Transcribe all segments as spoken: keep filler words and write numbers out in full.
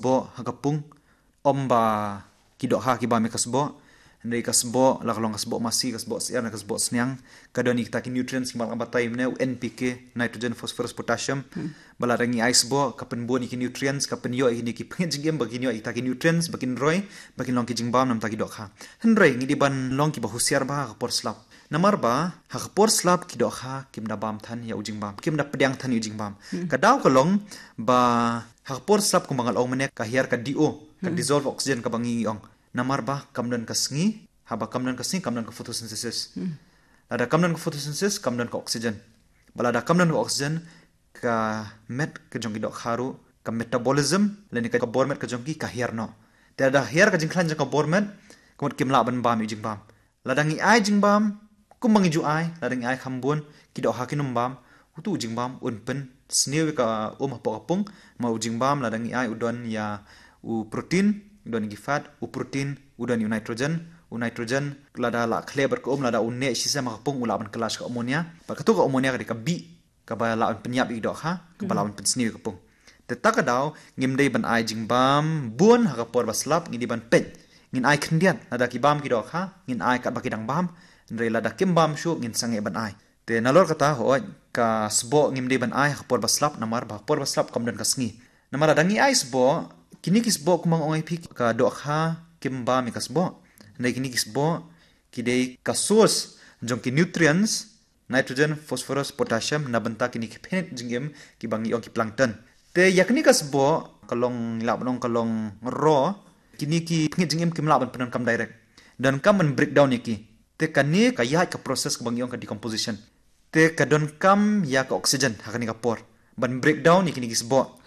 sboh ha ka pung, ym ba ki dohkha ki bam ïa ka sboh. Hynrei ka sboh, la ka long ka sboh masi, ka sboh syiar, ka sboh sniang, ka don ïa kita ki nutrients kiba la batai mynne, u N P K, nitrogen, phosphorus, potassium. Ba lada ngi ai sboh, ka pynbun ïa ki nutrients, ka pynïoh ïa kine ki pynïaid jingim ba kin ïoh ïa kita ki nutrients ba kin roi, ba kin long ki jingbam na bynta ki dohkha. Hynrei ngi dei ban long kiba husiar bha ha ka por slap. Namar ba ha ka por slap ki dohkha kim da bam than ïa u jingbam, kim da pdiang than ïa u jingbam. Ka daw ka long ba ha ka por slap kumba nga la ong mynne, ka hiar ka D O, ka dissolve oxygen kaba ngi ong. Namar ba kam don ka sngi, haba kam don ka sngi kam don ka photosynthesis. Lada kam don ka photosynthesis kam don ka oxygen. Ba lada kam don ka oxygen, ka met ka jong ki dohkha ruh, ka metabolism lane ka bor met ka jong ki ka hiar noh. Te lada hiar ka jingkhlaiñ jong ka bor met, ka mut kim lah ban bam ïa u jingbam. Lada ngi ai jingbam kumba ngi ju ai, lada ngi ai kham bun, ki dohkha kin ym bam. Utu u jingbam un pynsniew ïa ka um hapoh ka pung. Ma u jingbam lada ngi ai u don ïa u protein, u don ïa ki fat, u protein u don ïa u nitrogen. U nitrogen lada la khleh bad ka um, lada u neh shisha ma ka pung, u lah ban kylla sha ka ammonia. Bad katu ka ammonia ka dei ka bih kaba lah ban pynïap ïa ki dohkha, kaba lah ban pynsniew ïa ka pung. Te ta ka daw ngim dei ban ai jingbam bun ha ka por ba slap, ngi dei ban peit. Ngin ai khyndiat, lada ki bam ki dohkha, ngin ai katba ki dang bam. Hynrei lada kim bam shuh, ngin sangeh ban ai. Te nalor kata, hooid, ka sboh ngim dei ban ai ha ka por ba slap, namar ba ha ka por ba slap kam don ka sngi. Namar lada ngi ai sboh, kine ki sboh kumba nga ong ïa phi, ka dohkha kim bam ïa ka sboh. Hynrei kine ki sboh ki dei ka source jong ki nutrients, nitrogen, phosphorus, potassium, na bynta kine ki pynïaid jingim kiba ngi ong ki plankton. Te ïa kine ka sboh, ka long, lah ban ong ka long raw, kine ki pynïaid jingim kim lah ban pyndonkam direct. Donkam ban breakdown ïa ki. Te kane ka ïaid ka process kaba ngi ong ka decomposition. Te ka donkam ïa ka oxygen ha kane ka por ban breakdown ïa kine ki sboh.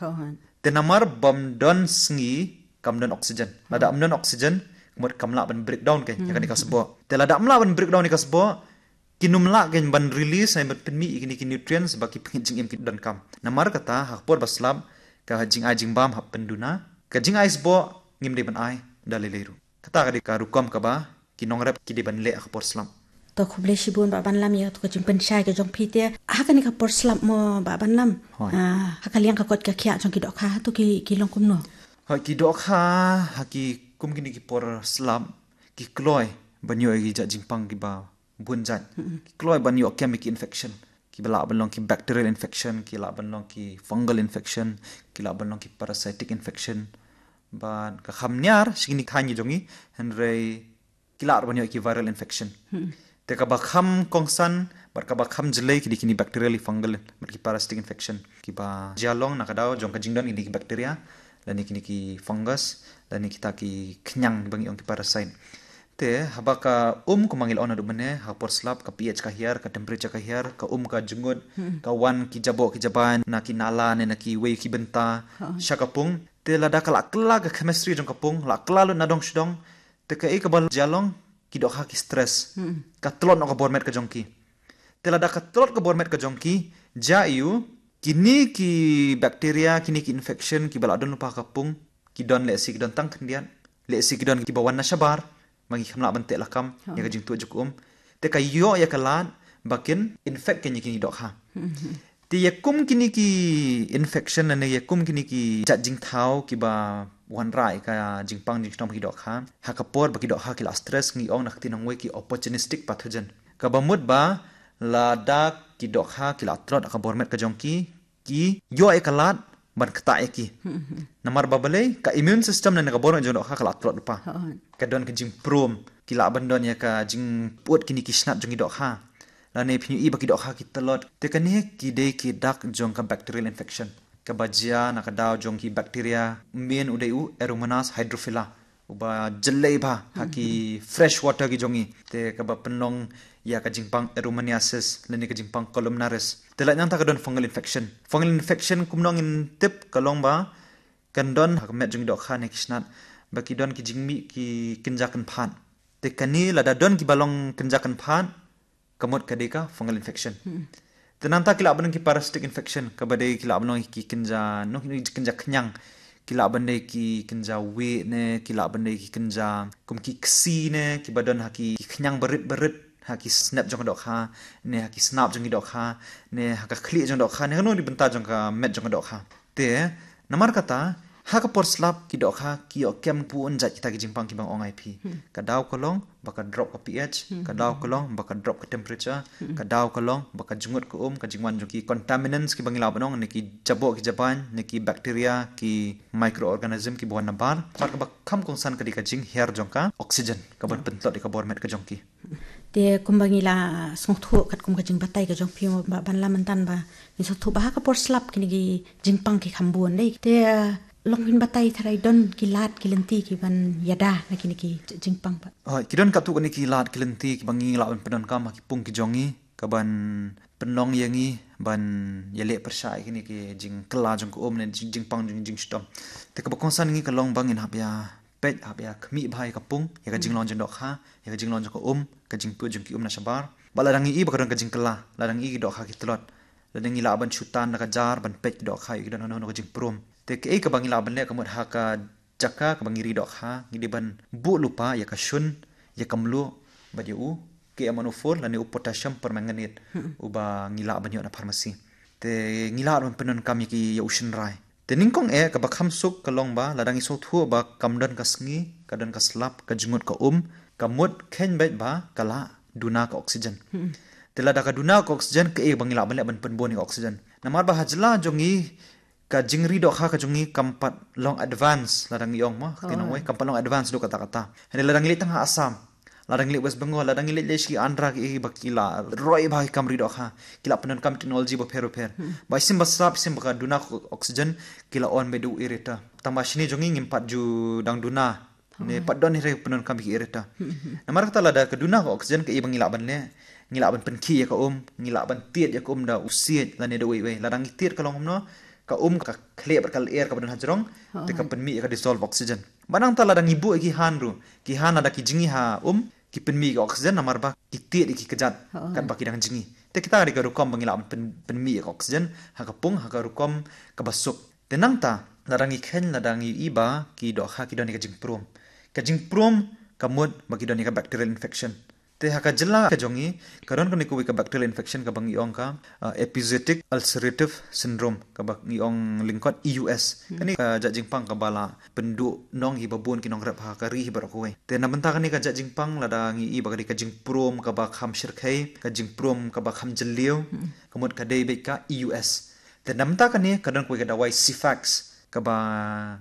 Te namar bym don sngi kam don oxygen. Lada ym don oxygen, ka mut kam lah ban breakdown kein ïa kane ka sboh. Te lada ym lah ban breakdown ïa ka sboh, kin ym lah kein ban release, ban pynmih ïa kine ki nutrients ba ki pynïaid jingim ki donkam. Namar kata ha ka por ba slap, ka jingai jingbam hap pynduna, ka jingai sboh ngim dei ban ai da lei lei ruh. Kata ka dei ka rukom kaba ki nongrep ki dei ban leh ha ka por slap. To khublei shibun Bah Banlam ïa katu ka jingpynshai ka jong phi. Te ha kane ka por slap mo Bah Banlam, ha ka liang ka koit ka khiah jong ki dohkha, hato ki long kumno? Ha ki dohkha, ha ki kum kine ki por slap, ki kloi ban ïoh ïa ki jait jingpang kiba bun jait. Ki kloi ban ïoh kem ïa ki infection, kiba lah ban long ki bacterial infection, ki lah ban long ki fungal infection, ki lah ban long ki parasitic infection. Bad ka kham niar sha kine ki thaiñ jong ngi, hynrei ki lah ban ïoh ki viral infection. Te kaba kham kongsan bad kaba kham jlei ki dei kine bacterial, fungal bad ki parasitic infection, kiba jia long na ka daw jong ka jingdon kine ki bacteria lane kine ki fungus lane kita ki khñiang ba ngi ong ki parasite. Te haba ka um kumba ngi la ong naduh mynne, ha ka por slap ka pH ka hiar, ka temperature ka hiar, ka um ka jngut, ka wan ki jaboh ki jabai na ki nala ne na kiwei ki bynta sha ka pung. Te lada ka la kylla ka chemistry jong ka pung, la kylla lut na dong sha dong, te kaei kaba jia long, ki dohkha ki stress. Ka tlot noh ka bor met ka jong ki. Te lada ka tlot ka bor met ka jong ki, jia aiu, kine ki bacteria, kine ki infection kiba la don lypa ha ka pung, ki don lehse ki don tang khyndiat, lehse ki don kiba wan na shabar, ma ngi kham lah ban teh lakam ïa ka jingtuid jong ka um. Te ka ïoh ïa ka lad ba kin infect kein ïa kine ki dohkha. Te ïa kum kine ki infection lane ïa kum kine ki jait jingthaw kiba wanrah ïa ka jingpang jingshnong ki dohkha, ha ka por ba ki dohkha ki la stress, ngi ong na ka ktien nongwei ki opportunistic pathogen. Kaba mut ba lada ki dohkha ki la tlot ha ka bor met ka jong ki, ki ïoh ïa ka lad ban ktah ïa ki. Namar ba balei, ka immune system lane ka bor met jong dohkha ka la tlot lypa. Ka don ka jingprom, ki lah ban don ïa ka jingput kine ki snat jong ki dohkha. Lane phin ïohi ba ki dohkha ki tlot. Te kane ki dei ki dak jong ka bacterial infection, kaba jia na ka daw jong ki bacteria, main u dei u Aeromonas hydrophila, uba jlei bha ha ki fresh water ki jong ngi. Te kaba pynlong ïa ka jingpang Aeromoniasis lane ka jingpang Columnaris. Te lait nangta ka don fungal infection. Fungal infection kumno ngin tip? Ka long ba kan don ha ka met jong ki dohkha ne ki snat ba ki don ki jingmih ki kynja kynphad. Te kane lada don kiba long kynja kynphad, ka mut ka dei ka fungal infection. Te nangta ki lah ban long ki parasitic infection, kaba dei ki lah ban long ki kynja, noh, ki kynja khñiang, ki lah ban dei ki kynja wieh ne, ki lah ban dei ki kynja kum ki ksi ne, kiba don ha ki khñiang barit barit, ha ki snep jong ka dohkha ne, ha ki snap jong ki dohkha ne, ha ka khlieh jong dohkha ne, kano kano ki bynta jong ka met jong ka dohkha. Te namar kata Ha ka por slap ki dohkha ki ïoh kem bun jait kita ki jingpang kiba nga ong ïa phi. Ka daw ka long ba ka drop ka pH, ka daw ka long ba ka drop ka temperature, ka daw ka long ba ka jngut ka um, ka jingwan jong ki contaminants kiba ngi lah ban ong, ne ki jaboh ki jabieng, ne ki bacteria, ki microorganism kiba wan nabar. Bad kaba kham kongsan ka dei ka jinghiar jong ka oxygen kaban pyntlot ïa ka bor met ka jong ki. Te kumba ngi la sngewthuh katkum ka jingbatai ka jong phi mo, ba ban la mynta ba ngi sngewthuh ba ha ka por slap kine ki jingpang ki kham bun dei. Te long phin batai tharai don ki lad ki lynti kiban ïada na kine ki jingpang pat? Hooid, ki don katto katne ki lad ki lynti kiba ngi lah ban pyndonkam ha ki pung ki jong ngi kaban pynlong ïa ngi ban ïaleh pyrshah ïa kine ki jingkylla jong ka um ne jing, jingpang jong jingshitom. Te kaba kongsan ïa ngi ka long ba ngin hap ïa peit, hap ïa khmih bha ïa ka pung, ïa ka jinglong jingdohkha, ïa ka jinglong jong ka um, ka jingpyut jong ki um na shabar. Bad lada ngi i ba ka don ka jingkylla, lada ngi i ki dohkha ki tlot, lada ngi lah ban shu tan da ka jar ban peit ki dohkha ïoh ki don hano hano ka jingprum. Te kaei kaba ngi lah ban leh ka mut ha ka jaka kaba ngi ri dohkha, ngi dei ban buh lypa ïa ka shun, ïa ka mluh bad ïa u K M one oh four lane u potassium permanganate, uba ngi lah ban ïoh na pharmacy. Te ngi lah ban pyndonkam ïa ki ïa u shynrai. Te nyngkong eh kaba kham suk ka long ba lada ngi sngewthuh ba kam don ka sngi, ka don ka slap, ka jngut ka um, ka mut kheiñ beit ba ka la duna ka oxygen. Te lada ka duna ka oxygen, kaei ba ngi lah ban leh ban pynbun ïa ka oxygen? Namar ba ha jylla jong ngi ka jingri dohkha ka jong ngi kam pat long advance, lada ngi ong mo, ka ktien nongwei, kam pat long advance haduh katta katta. Hynrei lada ngi leit tang ha Assam, lada ngi leit West Bengal, lada ngi leit leit sha ki Andhra, ki, ba ki la roi bha ki kam ri dohkha, ki la pyndonkam technology bapher bapher. Ba shisien ba slap, shisien ba ka duna ka oxygen, ki la on beit da u aerator. Tang ba shane jong ngi ngim pat ju dang duna ne pat don hi re pyndonkam ïa ki aerator. Namar kata lada ka duna ka oxygen, kaei ba ngi lah ban leh? Ngi lah ban pynkhih ïa ka um, ngi lah ban tied ïa ka um da u siej lane da uwei uwei. Lada ngi tied ka long kumno, ka um ka khleh bad ka lyer kaba don ha jrong, te ka pynmih ïa ka dissolved oxygen. Bad nangta lada ngi buh ïa ki han ruh, ki han lada ki jngi ha um, ki pynmih ïa ka oxygen namar ba ki tied ïa ki kjat katba ki dang jngi. Te kita ka dei ka rukom ba ngi lah ban pyn, pynmih ïa ka oxygen ha ka pung ha ka rukom kaba suk. Te nangta lada ngi kheiñ, lada ngi i ba ki dohkha ki don ïa ka jingprum, ka jingprum ka mut ba ki don ïa ka bacterial infection. Te ha ka jylla ka jong ngi ka don kane kawei ka bacterial infection kaba ngi ong ka, uh, epizootic ulcerative syndrome, kaba ngi ong lyngkot E U S. Kane ka jait jingpang kaba la pynduh nong hi babun ki nongrep ha ka ri hi baroh kawei. Te na bynta kane ka jait jingpang, lada ngi i ba ka dei ka jingprum kaba kham shyrkhei, ka jingprum kaba kham jylliew, ka mut ka dei beit ka E U S. Te na bynta kane ka don kawei ka dawai Cefax kaba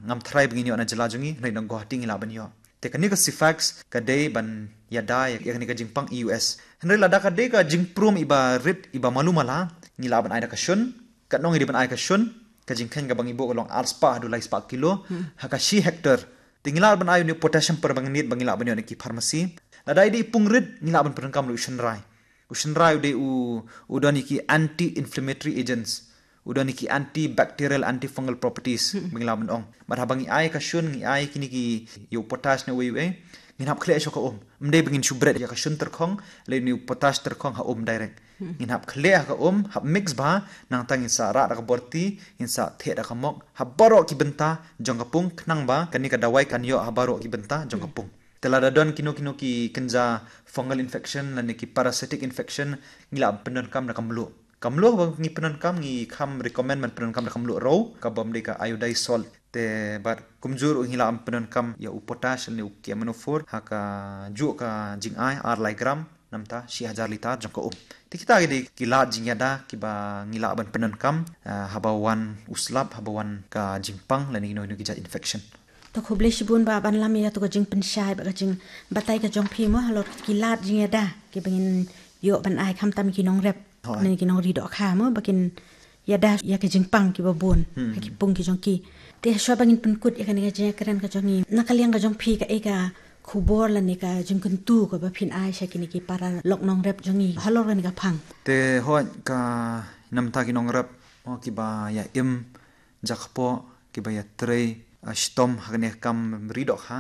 ngam tharai ba ngin ïoh na jylla jong ngi, hynrei na Guwahati ngi lah ban ïoh. Te kane ka Cefax ka dei ban ïada ïa kane ka jingpang E U S. Hynrei lada ka dei ka jingprum iba rit, iba malu mala, ngi lah ban ai da ka shun. Katno ngi dei ban ai ka shun? Ka jingkheiñ kaba ngi buh ka long ar spah haduh lai spah kilo ha ka shi hektar. Te ngi lah ban ai une u potassium permanganate ba ngi lah ban ïoh na ki pharmacy. Lada i dei i pung rit, ngi lah ban pyndonkam ruh u shynrai. U shynrai u dei u, u don ïa ki anti-inflammatory agents, u don ïa ki antibacterial, antifungal properties ba ngi lah ban ong. Bad haba ngi ai ka shun, ngi ai kine ki, ïa u potash ne uwei uwei, ngin hap khleh shuh ka um. Ym dei ba ngin shu bret ïa ka shun tyrkhong lane u potash tyrkhong ha um direct. Ngin hap khleh ha ka um, hap mix bha, nangta ngin sa rah da ka borti, ngin sa theh da ka mok ha baroh ki bynta jong ka pung, khnang ba kane ka dawai kan ïoh ha baroh ki bynta jong ka pung. Te lada don kino kino ki kynja fungal infection lane ki parasitic infection, ngi lah ban pyndonkam da ka mluh. Ka mluh ba ngi pyndonkam, ngi kham recommend ban pyndonkam da ka mluh rew, kaba ym dei ka iodized salt. Te bad kumjuh ruh ngi lah ban pyndonkam ïa u potash lane u K M one oh four ha kajuh ka jingai ar lai gram na bynta shi hajar litar jong ka um. Te kita ki dei ki lad jingïada kiba ngi lah ban pyndonkam, ah, haba wan u slap, haba wan ka jingpang lane kino kino ki jait infection. To khublei shibun Bah Banlam ïa kato ka jingpynshai bad ka jingbatai ka jong phi mo halor ki lad jingïada kiba ngin ïoh ban ai khamtam ki nongrep, hooid, ne ki nongri dohkha mo ba kin ïada ïa ka jingpang kiba bun ha ki pung ki jong ki. Te shuwa ba ngin pynkut ïa kane ka jingïakren ka jong ngi, na ka liang ka jong phi kaei ka khubor lane ka jingkyntu kaba phin ai sha kine ki para lok nongrep jong ngi halor kane ka phang? Te hooid, ka na bynta ki nongrep mo kiba ïa im jakpoh, kiba ïa trei, ah, shitom ha kane ka kam ri dohkha.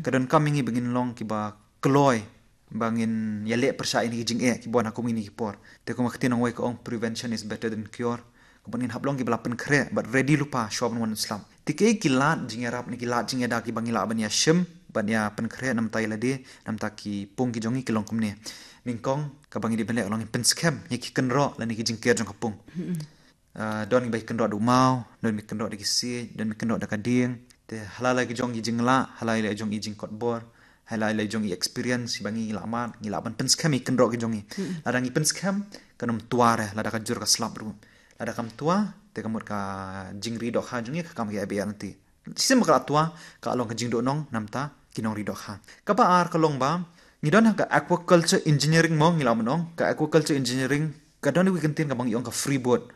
Ka donkam ïa ngi ba ngin long kiba kloi ba ngin ïaleh pyrshah ïa kine ki jingeh kiba wan ha kum kine ki por. Te kum ka ktien nongwei ka ong, prevention is better than cure. Ka mut ngin hap long kiba la pynkhreh bad ready lypa shuwa ban wan u slap. Te kiei ki lad jingïarap ne ki lad jingïada kiba ngi lah ban ïa shim ban ïa pynkhreh na bynta ïa lade, na bynta ki pung ki jong ngi, ki long kumne. Nyngkong kaba ngi dei ban leh ka long ngin pynskhem ïa ki kynroh lane ki jingker jong ka pung. Ah, don ba ki kynroh da u maw, don ba ki kynroh da ki siej, don ba ki kynroh da ka dieng. Te ha la la ki jong ki jinglah, ha la la ki jong ki jingkotbor, ha la la ki jong ki experience ba ngi lah mad, ngi lah ban pynskhem ïa ki kynroh ki jong ngi. Lada ngi pynskhem, kan ym twa re, lada ka jur ka slap ruh. Lada kam twa, te ka mut ka jingri dohkha jong ngi ka kam ka ïa biang ti. Shisien ba ka la twa, ka long ka jingduhnong namar ki nongri dohkha. Kaba ar ka long ba, ngi don ha ka aquaculture engineering mo ngi lah ban ong, ka aquaculture engineering, ka don iwei i kyntien kaba ngi ong ka freeboard.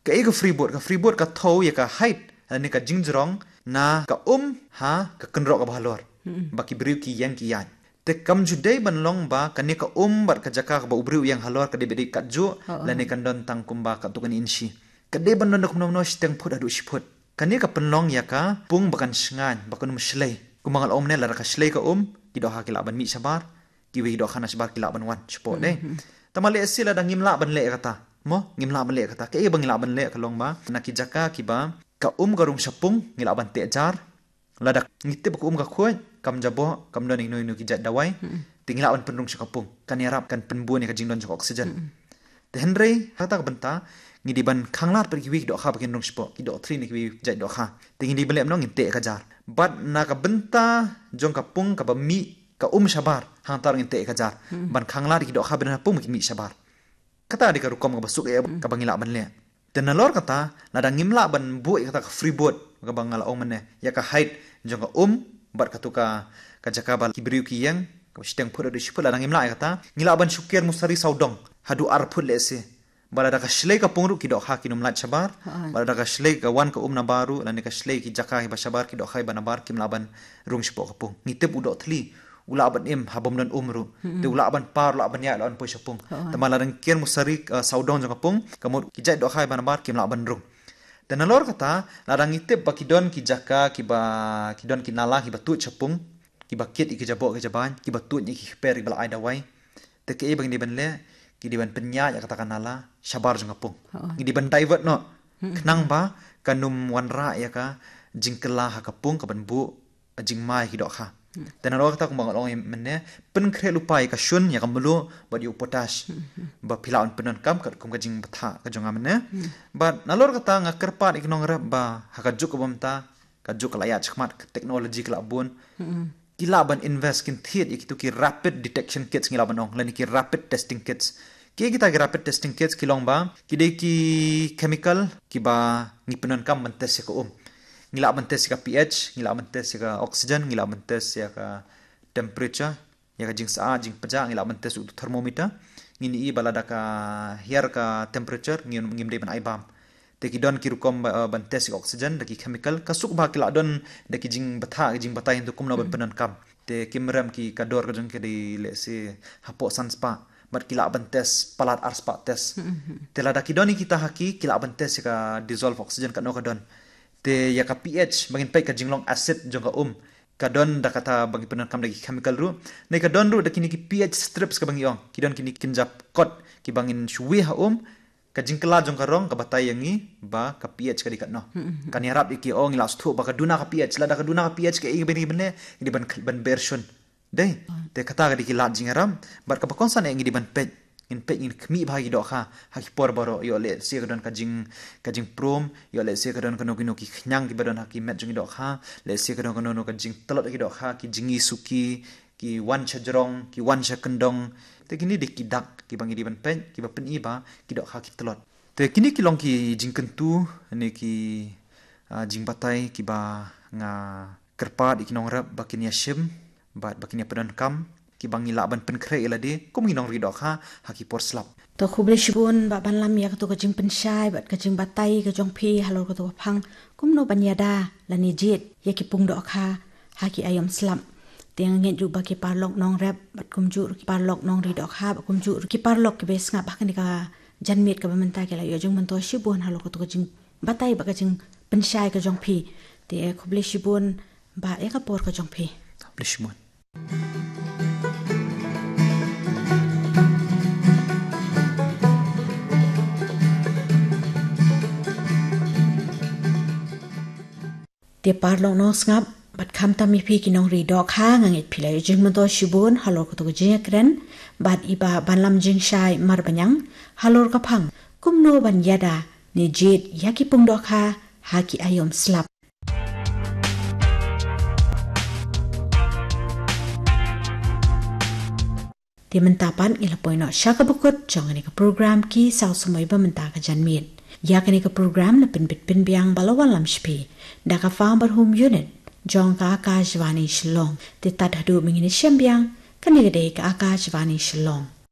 Kaei ka freeboard, ka freeboard ka thew ïa ka height, lane ka jingjrong, na ka um, ha, ka kynroh kaba halor. Ba ki briew ki ïeng ki ïaid. Te kam ju dei ban long ba, kane ka um bad ka jaka kaba u briew u ïeng halor ka dei ba dei katjuh, lane kan don tang kumba katto katne inshi. Ka dei ban don da kumno kumno shiteng phut haduh shi phut. Kane ka pynlong ïa ka pung ba kan shngaiñ, ba kan ym shlei. Kumba nga la ong mynne lada ka shlei ka um, ki dohkha ki lah ban mih shabar, kiwei ki dohkha na shabar ki lah ban wan, shapoh dei. Tangba lehse lada ngim lah ban leh kata. Mo, ngim lah ban leh kata. Kaei ba ngi lah ban leh ka long ba, na ki jaka kiba, ka um ka rung sha pung, ngi lah ban teh jar, lada ngi tip ba ka um ka khuid, kam jaboh, kam don ïa kino kino ki jait dawai. Te ngi lah ban pynrung sha ka pung. Kan ïarap, kan pynbun ïa ka jingdon jong ka oxygen. Te hynrei, ha kata ka bynta, ngi dei ban khanglad pat kiwei ki dohkha ba kin rung shapoh, ki dohthli ne kiwei ki jait dohkha. Te ngi dei ban leh kumno, ngin teh ka jar. Bad na ka bynta jong ka pung kaba mih, ka um shabar, hangta ruh ngin teh ka jar. Ban khanglad ïa ki dohkha ba don ha pung ba kin mih shabar. Kata dei ka rukom kaba suk eh, kaba ngi lah ban leh. Te nalor kata, lada ngim lah ban buh ïa kata ka freeboard, kaba nga la ong mynne, ïa ka height jong ka um, bad katu ka, ka jaka ba ki briew ki ïeng, kaba shiteng phut haduh shi phut, lada ngim lah ïa kata, ngi lah ban shu ker musari sawdong, haduh ar phut lehse. Bad lada ka shlei ka pung ruh ki dohkha kin ym lait shabar, bad lada ka shlei ka wan ka um nabar ruh, lane ka shlei ki jaka kiba shabar ki dohkha kiba nabar kim lah ban rung shapoh ka pung. Ngi tip u dohthli, u lah ban im, ha bym don um ruh. Te u lah ban par, u lah ban ïaid, u lah ban poi sha pung. Tangba lada ngi ker musari, eh, sawdong jong ka pung, ka mut ki jait dohkha kiba nabar, kim lah ban rung. Te nalor kata, lada ngi tip ba ki don ki jaka, kiba, ki don ki nala, kiba tuid sha pung, kiba kit ïa ki jaboh ki jabain, kiba tuid ïa ki kper, kiba la ai dawai. Te kaei ba ngi dei ban leh, ngi dei ban pynïaid ïa kata ka nala, shabar jong ka pung. Ngi dei ban divert noh. Khnang ba, kan ym wanrah ïa ka, jingkylla ha ka pung, kaban buh, jingma ïa ki dohkha. Te nalor kata kumba nga la ong mynne, pynkhreh lypa ïa ka shun, ïa ka mluh, bad ïa u potash. Ba phi lah ban pyndonkam, katkum ka jingbthah, ka jong nga mynne. Bad nalor kata nga kyrpad ïa ki nongrep ba, ha ka juk kaba mynta, ka juk ka la ïaid shakhmat, ka technology ka la bun. Ki lah ban invest kin thied ïa kitu ki rapid detection kits ngi lah ban ong, lane ki rapid testing kits. Ki kita ki rapid testing kits ki long ba, ki dei ki chemical, kiba ngi pyndonkam ban test ïa ka um. Ngi lah ban test ïa ka pH, ngi lah ban test ïa ka oxygen, ngi lah ban test ïa ka temperature, ïa ka jingsa, jingpjah, ngi lah ban test u thermometer. Ngin ïohi ba lada ka hiar ka temperature, ngim, ngim dei ban ai bam. Te ki don ki rukom ba, eh, ban test ïa ka oxygen, da ki chemical, ka suk ba ki lah don, da ki jingbthah, ki jingbatai hangtu kumno ban pyndonkam. Te kim rem ki ka dor ka jong ki dei lehse hapoh san spah. Bad ki lah ban test palat ar spah test. Te lada ki don ïa kita ha ki, ki lah ban test ïa ka dissolve oxygen katno ka don. Te ïa ka pH, ba ngin peit ka jinglong acid jong ka um. Ka don da kata ba ngi pyndonkam da ki chemical ruh. Ne ka don ruh da kine ki pH strips kaba ngi ong. Ki don kine ki kynja kot kiba ngin shu wei ha um. Ka jingkylla jong ka rong ka batai ïa ngi ba ka pH ka dei katno. Kan ïarap ïa ki, oh, ngi lah sngewthuh ba ka duna ka pH, lada ka duna ka pH kaei ba ngi dei ban leh, ngi dei ban, ban ber shun. Dei. Te kata ka dei ki lad jingïarap, bad kaba kongsan eh ngi dei ban peit. Ngin peit, ngin khmih bha ïa ki dohkha, ha ki por baroh, ïoh lehse ka don ka jing, ka jingprom, ïoh lehse ka don kano kano ki khñiang kiba don ha ki met jong ki dohkha, lehse ka don kano kano ka jingtlot ïa ki dohkha, ki jingïasuki, ki wan sha jrong, ki wan sha kyndong. Te kine dei ki dak, kiba ngi dei ban peit, kiba pyni ba, ki dohkha ki tlot. Te kine ki long ki jingkyntu, ne ki, ah, jingbatai, kiba nga kyrpad ïa ki nongrep, ba kin ïa shim, bad ba kin ïa pyndonkam, kiba ngi lah ban pynkhreh ïa lade, kum ki nongri dohkha, ha ki por slap. To khublei shibun, Bah Banlam ïa kato ka jingpynshai, bad ka jingbatai, ka jong phi, halor kato ka phang, kumno ban ïada, lane jied, ïa ki pung dohkha, ha ki aïom slap. Te nga ngeit ruh ba ki paralok nongrep, bad kumjuh ruh ki paralok nongri dohkha, bad kumjuh ruh ki paralok kiba sngap ha kane ka janmiet kaba mynta ki la ïoh jingmyntoi shibun halor kato ka jingbatai bad ka jingpynshai ka jong phi. Te khublei shibun Bah ïa ka por ka jong phi. Khublei shibun. Te paralok nongsngap, bad khamtam ïa phi ki nongri dohkha, nga ngeit phi la ïoh jingmyntoi shibun halor kato ka jingïakren bad i Bah Banlam Jingshai Marbaniang halor ka phang kumno ban ïada ne jied ïa ki pung dohkha ha ki aïom slap. Te mynta pat ngi la poi noh sha kaba kut jong kane ka program Ki Saw Samoi ba mynta ka janmiet. Ïa kane ka program la pynbit pynbiang bad la wanlam sha phi da ka Farmer Home Unit jong ka Akashvani Shillong. Te tad haduh ba ngin ïashem biang, kane ka dei ka Akashvani Shillong.